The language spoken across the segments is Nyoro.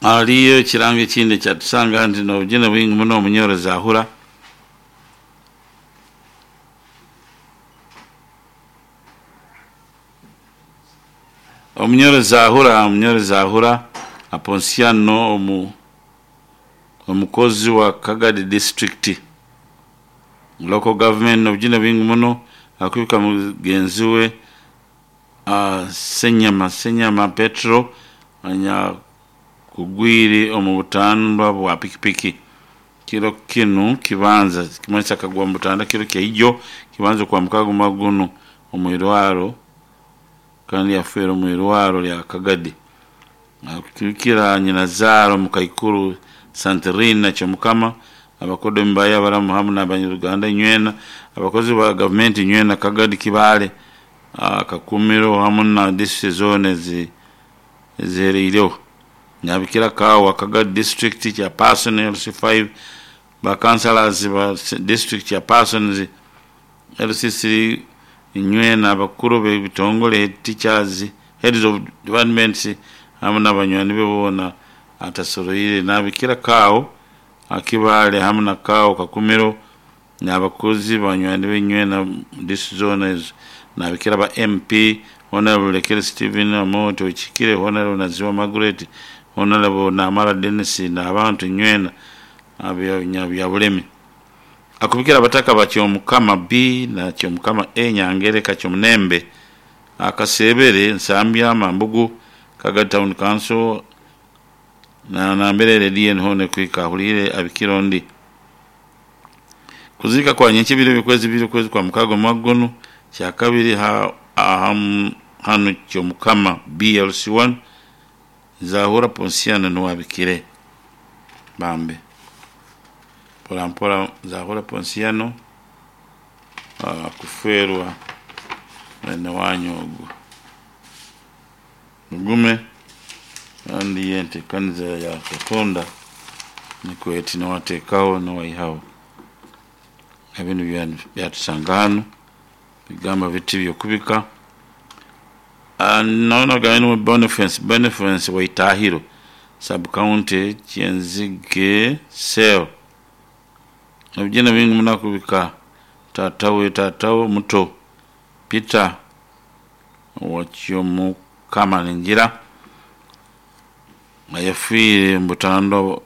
Haliyo ekirango ekindi ekyatusanga nti nobujune bwingi muno omunyoro Zahura. Omunyoro Zahura, Omunyoro Zahura Aponsiano omukozi wa Kagadi district local government nobujune bwingi muno akubika mugenzi we Senyama Senyama Petro anyakugwire omu butandwa bwa pikipiki kiro kinu kibanza kimanyisa akagwa omu butandwa kiro kyaijo kibanza okwa mukaaga omwaka gunu omwirwaro kandi yafeera omwirwaro lya Kagadi. Akubikira nyinazaara omukaikuru Santirina Kyomukama, abakodomi baye abaramu hamu n'abanyaruganda inywena, abakozi ba gavumenti inywena Kagadi, Kibaale, Kakumiro hamu na disitulikiti zoona ezihereireho. Nabikira Kaawa, Kagadi district chairperson LC5, ba councillors ba district chairpersons LC3 inywena, abakuru b'ebitongole, head teachers, heads of departments hamu n'abanywani be boona atasoroire. Nabikira Kaawo Kibaale hamu na Kaawo Kakumiro n'abakozi banywani be inywena mu district zoona ezo. Nabikira ba MP Honorable Lekere Stephen Amooti Oikikire, Honorable Naziwa Margaret, Honorable Namara Denis n'abantu inywena Nyabyabulemi. Akubikira abataka ba Kyomukama B na Kyomukama A Nyangereka Kyomunembe, Akasebere, Nsambya, Mambugu, Kagadi Town Council na nambere erediyo niho nekwika ahuliire abikira ondi. Kuziika kwa nyenkya ebiro by'okwezi ibiri okwezi kwa mukaaga omwaka gunu kyakabiri hanu Kyomukama BLC1 Zahura Ponsiano nuwe abikire bambi. Mpora mpora Zahura Ponsiano kufeerwa mwene wanyu ogu. Mugume kandi enteekaniza ya Katonda nikwo eti niwe ateekaho niwe aihaho. Ebinu byatusanga hanu bigamba biti byokubika. Naona niwe Boniface, Boniface Waitahiro, sub county Kyenzige cell. Ebijune bingi muno akubika taata we, taata we omuto Peter Wakyomukama ningira ayafiire omu butandwa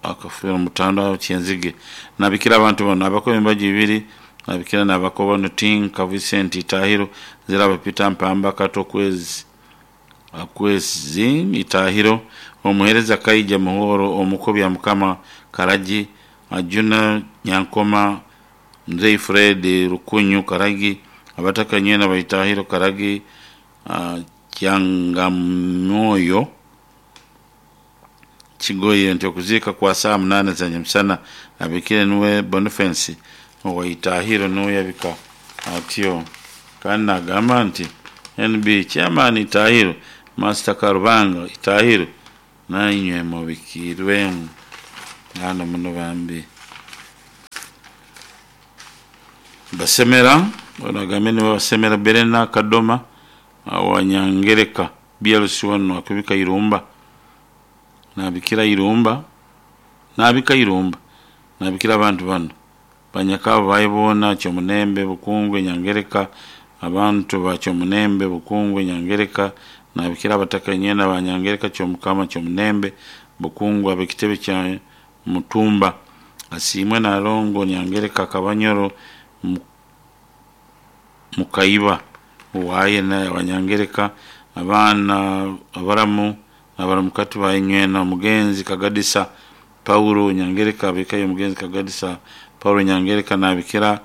akafiira omu butandwa Kyenzige. Nabikira abantu banu abakoba embaju ibiri, nabikira nabakoba banu Tinka Vincent Itahiro, Ziraba Peter Mpamba Kato Kwezi Itahiro, omuheereza Kaija Muhoro, omuko Byamukama Karagi, Ajuna Nyankoma, Mzei Fred Rukunyu Karagi, abataka inywena ba Itahiro Karagi, Kyangamwoyo Kigoye nti okuziika kwa saaha munaana za nyamusana abikire niwe Boniface owa Itahiro niwe yabika atyo. Kandi nagamba nti NB Chairman Itahiro, Master Karubanga Itahiro nainywe mubikirwemu hano muno bambi. Basemera, ono agambye niwe Basemera Berena Kadoma wa Nyangereka BLC1 akubika Irumba. Nabikira Irumba, nabika Irumba, nabikira abantu banu. Banyakabo baye boona Kyomunembe, Bukungwe, Nyangereka, abantu ba Kyomunembe, Bukungwe, Nyangereka, nabikira abataka inywena ba Nyangereka, Kyomukama, Kyomunembe, Bukungwe, ab'ekitebe kya Mutumba, Asiimwe Nalongo, Nyangereka, Kabanyoro, Mukaiba, Owaye Abanyangereka, abaana abaramu, abaramukati ba inywena, omugenzi Kagadisa Paulo Nyangereka, abikayo omugenzi Kagadisa Paulo Nyangereka, nabikira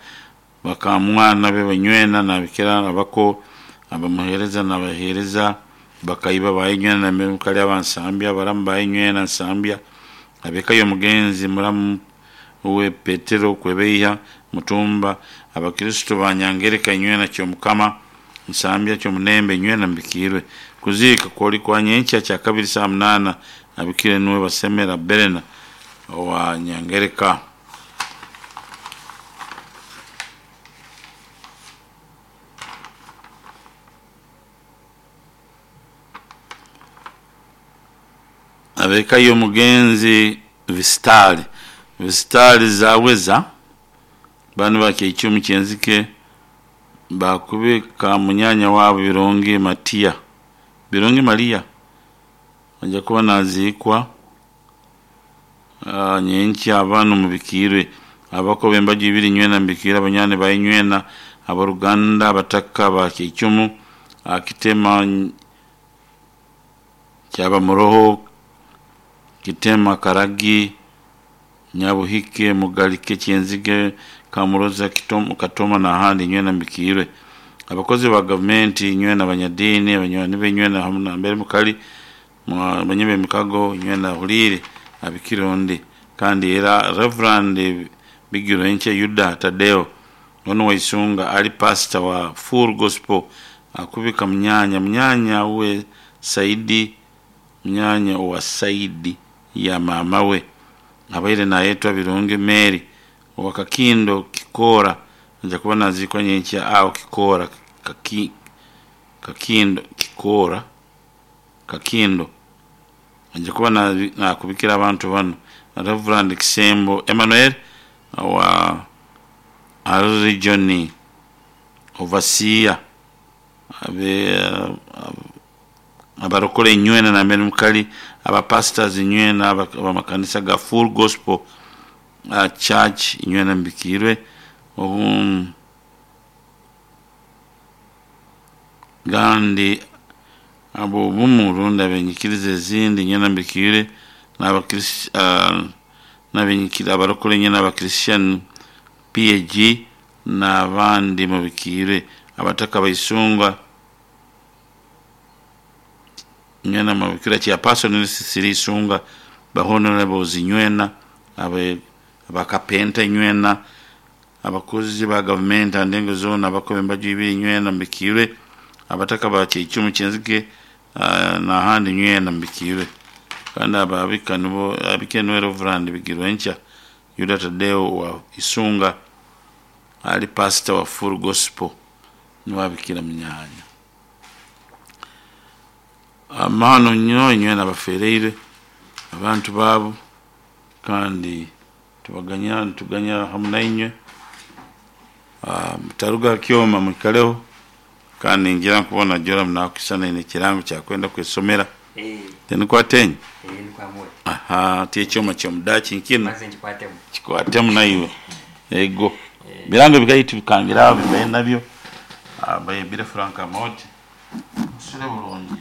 bakamwana be banywena, nabikira abako abamuheereza nabaheereza bakaiba ba inywena, namukali abansambya, abaramu ba inywena Nsambya, abikayo omugenzi muramu we Petero Kwebeiha Mutumba, abakristo ba Nyangereka inywena Kyomukama Nsambya Kyomunembe inywena mbikiirwe. Kuziika kwoli kwa nyenkya kyakabiri saaha munaana abikire niwe Basemera Berena owa Nyangereka. Ab'eka y'omugenzi Visitali, Visitali Zaweza, banu ba Kyeicumu Kyenzike bakubika munyanya waabo Birungi Matia, Birungi Maria aija kuba naziikwa nyenkya. Banu mubikiirwe abako b'embaju ibiri nywena mubikiirwe, abanywani ba inywena, ab'oruganda, abataka ba Kyeicumu, Kitema Kyabamuroho, Kitema Karagi, Nyabuhike, Mugalike, Kyenzige, Kamuroza, Katoma n'ahandi nywena mubikiirwe. Abakozi ba gavumenti nywena, abanyadiini, abanywani be nywena hamu nambere mukali, abanyi b'emikago nywena ahuliire abikire ondi. Kandi era Reverand Bigirwenkye Yuda Tadeo onu Waisunga ali pastor wa Full Gospel akubika munyanya, munyanya we Saidi, munyanya owa saidi ya maama we abaire nayetwa Birungi Mary owa Kakindo Kikoora aija kuba naziikwa nyenkya awo Kikoora Kakindo Kikoora Kakindo. Aija kuba nakubikira abantu banu Reverand Kisembo Emmanuel owa Arua Region Overseer abarokole inywena nambere mukali, aba pastors inywena ab'amakanisa ga Full Gospel Church inywena mubikiirwe kandi ab'obumu rundi ab'enyikiriza ezindi inywena mubikiirwe abarokole inywena aba Christian PAG n'abandi mubikiirwe, abataka ba Isunga inywena mubikirwe, Chairperson Cecily Isunga, ba honorables inywena, abakapenta inywena, abakozi ba gavumenti aha ndengo zoona, abako b'embaju ibiri inywena mubikiirwe, abataka ba Kyeicumu Kyenzige n'ahandi inywena mubikiirwe. Kandi abo abika nibo abikire niwe Reverand Bigirwenkya Yuda Tadeo wa Isunga ali pastor wa Full Gospel niwe abikira munyanya. Amahano nyo inywena abafereirwe abantu baabo kandi tubaganya nituganya hamu nainywe. Mutaruga ha kyoma mwikaleho kandi ningira nkubona Joram nakusana aine ekirango kyakwenda kwesomera. Tinikwate enye? Aha, ti ekyoma ky'omudaaki nkinu Maze nkikwatemu. Kikwatemu naiwe. Ego. Birango bikaitu bikangira aho bibaire nabyo bayebire Frank Amooti. Musule bulungi.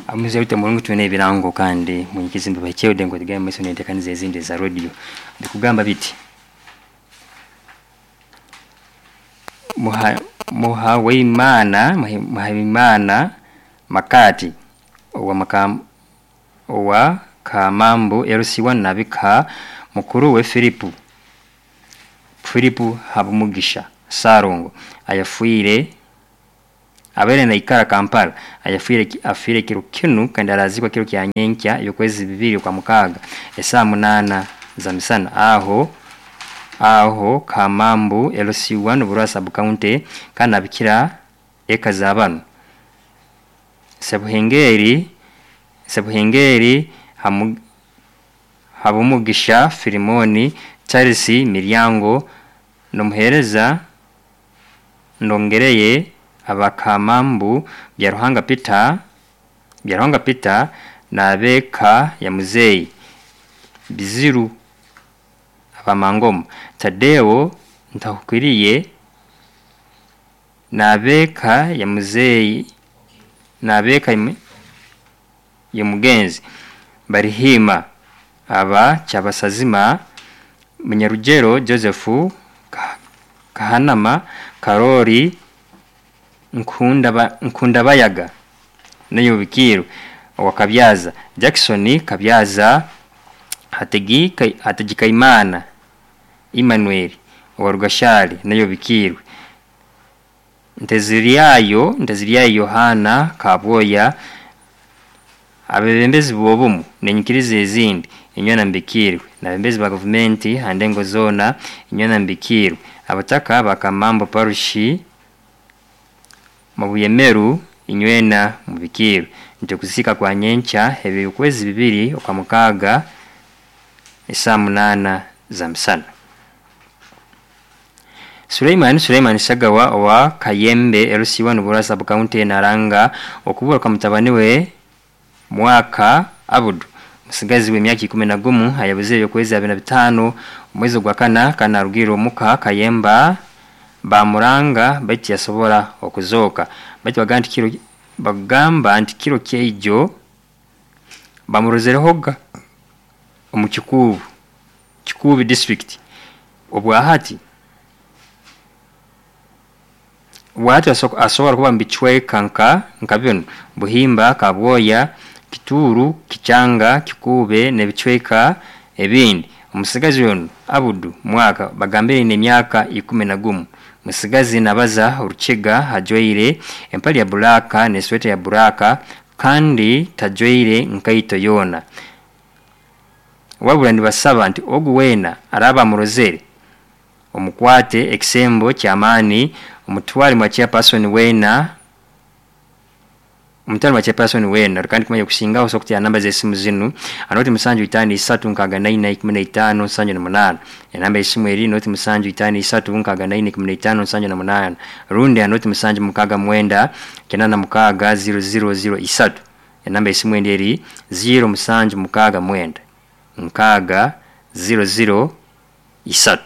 Amuze bite mulungu twine ebirango kandi munyikizi mbibahikyeho ngo tugaye maiso n'enteekaniza ezindi eza radio bikugamba biti muha Muhaweimana Muhaweimana Makati owa makam owa Kamambo LC1 nabika mukuru we Filipu Filipu Habumugisha Sarongo ayafuire abere naikara Kampala ayafuire afire kiro kinu kandi arazikwa kiro kya nyenkya yokwezi bibiri kwa mukaga esaa 8 za misana aho aho Kamambo LC1 Burasa sub county kandi abikira eka za bano Sebuhengeri Sebuhengeri Habumugisha Filimoni Charles Miryango nomuhereza Ndongereye abakamambu Byaruhanga Peter Byaruhanga Peter nabeka ya muzeyi Biziru abamangoma Tadeo Ntahukwiriye nabeka ya muzeyi nabeka ya mugenzi Barihima aba Kyabasazima Munyarugero Joseph Kahanama Karori Nkundabayaga Nayubikiro wa Kabyaza Jackson Kabyaza Hategikaimana Emmanuel wa Rugashari Nayubikirwe Nteziryayo Yohana Kabwoya abebembezi bobumu nenyikiriza ezindi inywena mbikirwe nabembezi ba gavumenti handengo zona inywena mbikirwe abataka bakamambo parushi Mubuyemeru inywena mubikiirwe nti okuziika kwa nyenkya ebyokwezi 2 okwa mukaaga esaa 8 za misana. Suleiman Sagawa owa Kayembe LC1 Burora sub county naranga okubura kwa mutabani we Mwaka Abudu musigazi w'emyaka 11 ayabuze ebyokwezi 25 omwezi gwa kana kanarugirwe omuka Kayemba bamuranga baitu yasobora okuzooka baitu bagamba nti kiro kyeijo bamurozerehoga omu Kikuubi district obwahati asobora kuba mubicweka nka binu Buhimba, Kabwoya, Kituru, Kichanga, Kikuube n'ebicweka ebindi. Omusigazi onu Abudu Mwaka bagambire n'emyaka 11. Musigazi nabaza orukiga ajwaire empali ya buraka n'esweta ya buraka kandi tajwaire nkaito yoona. Wabula nibasaba nti ogu weena araba amurozere omukwate ekisembo ky'amaani omutware mwa chairperson weena omutware mwa chairperson weena. Kandi kumanya okusingaho osobola kutera namba z'esimu zinu anoti 753 64 15 78. Enamba y'esimu eri noti 753 64 15 78 rundi anoti 769 86 0003. Enamba y'esimu endi eri 0769 6 00 3.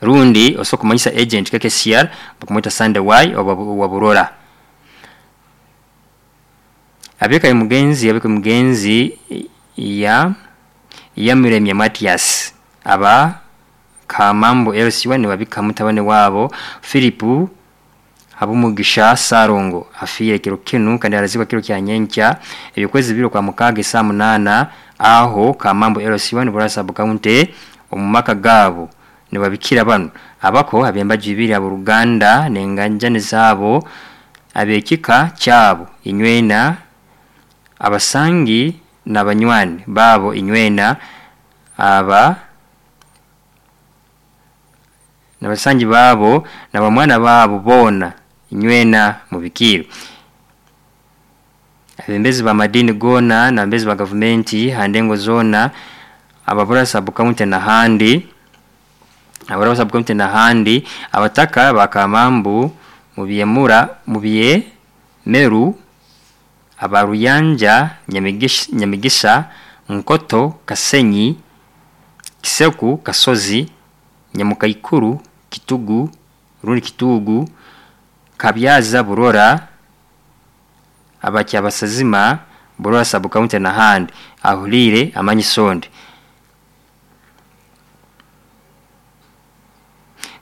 Rundi osobola kumanyisa agent KKCR bakumweta Sunday Y owa Burora. Abeka mugenzi ya Yamiremye Matias aba Kamambo LC1 nibabika mutabane wabo Philip Habumugisha Sarongo afiire kiro kinu kandi arazikwa kiro kya nyenkya ebyokwezi 2 kwa mukaaga saa 8 aho Kamambo LC1 Burora sub county omumaka gaabo nibabikira bano abako abembaji ibiri aboruganda nenganjani zabo abekika kyabo inywena abasangi n'abanywani babo inywena aba n'abasangi babo n'abamwana babo boona inywena mubikiiro. Abembezi ba madini gona n'abembezi ba gavumenti handengo zona ababura sub county n'ahandi ababura sub county n'ahandi abataka bakamambu mubyemura mubye meru abaruyanja Nyamigisa Nkoto Kasenyi Kiseku Kasozi Nyamukaikuru Kitugu rundi Kitugu Kabyaza Burora abakyabasazima Burora sub county n'ahandi ahulire amanyi sonde.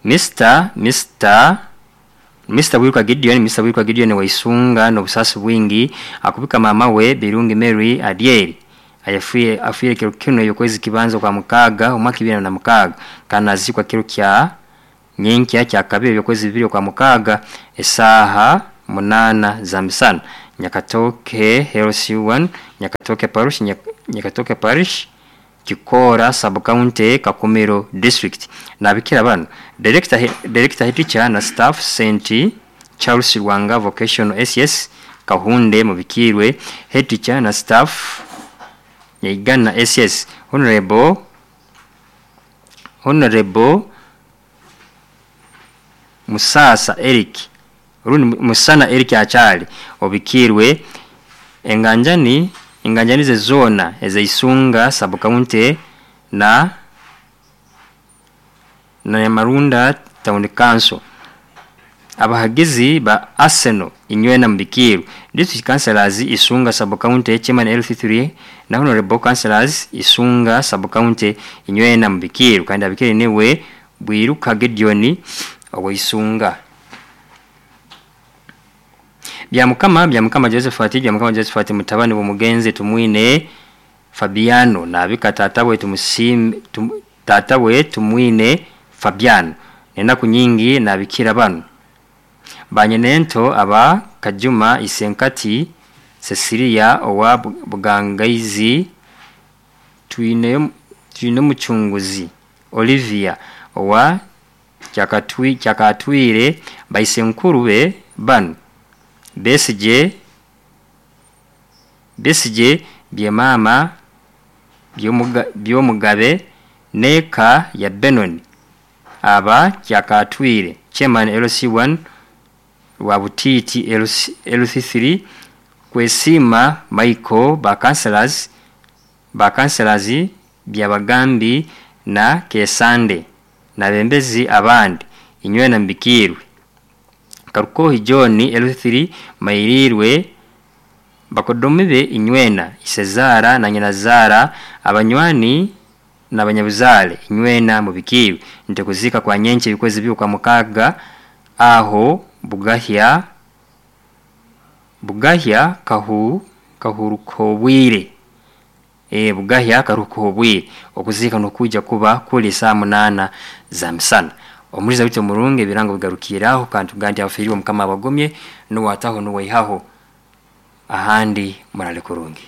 Mr. Bwiruka Gideon waisunga n'obusasi bwingi akubika mama we Birungi Mary Adieri afiire kiro kino yokwezi kibanza kwa mukaaga omwaka 2006 kanazikwa kiro kya nyenkya kya kabiri yokwezi 2 kwa mukaaga esaha 8 za misana. Nyakatoke LC1 Nyakatoke Parish Kikora sub county Kakumiro district. Nabikira bano director head teacher na staff St Charles Rwanga Vocational SS Kahunde mubikirwe head teacher na staff Nyaigana SS Honorable Musasa Eric rundi Musana Eric Achali obikirwe enganjani ze zona ezeisunga sub county na Nyamarunda town council. Abahagizi ba Arsenal inywena mbikiru district councillors Isunga sub county chairman LC3 na honorable councillors Isunga sub county inywena mbikiru kandi abikire niwe Bwiruka Gideon owisunga. Byamukama Josephat mutabani bumugenze Tumwine Fabiano nabika tatawe tatawe Tumwine Fabiano nenaku nyingi nabikira bano banyenento aba Kajuma Isenkati Cecilia owa Bugangaizi Twine Muchunguzi Olivia owa Kyakatwire baisenkuru be Banu Besigye, Besigye Byemaama Byomugabe n'eka ya Benon aba Kyakatwire Chairman LC1 Rwabutiiti LC3 Kwesiima Michael ba councillors Byabagambi na Kesande n'abebembezi abandi inywena mubikiirwe. Karukohi John LC3 Mairirwe bakodomi be inywena Isezaara na nyinazaara abanywani n'abanyabuzaale inywena mubikiirwe nti okuziika kwa nyenkya ebikwezi bibiri okwa mukaaga aho Bugahya Bugahya Kahurukoobwire Bugahya Karukoobwire okuziika nukwija kuba kuli saaha 8 za misana. Omuliza waitu omurungi ebirango bigarukiire aho kandi tugambe nti abafiirirwe Mukama abagumye nuwe ataho nuwe aihaho ahandi muraale kurungi.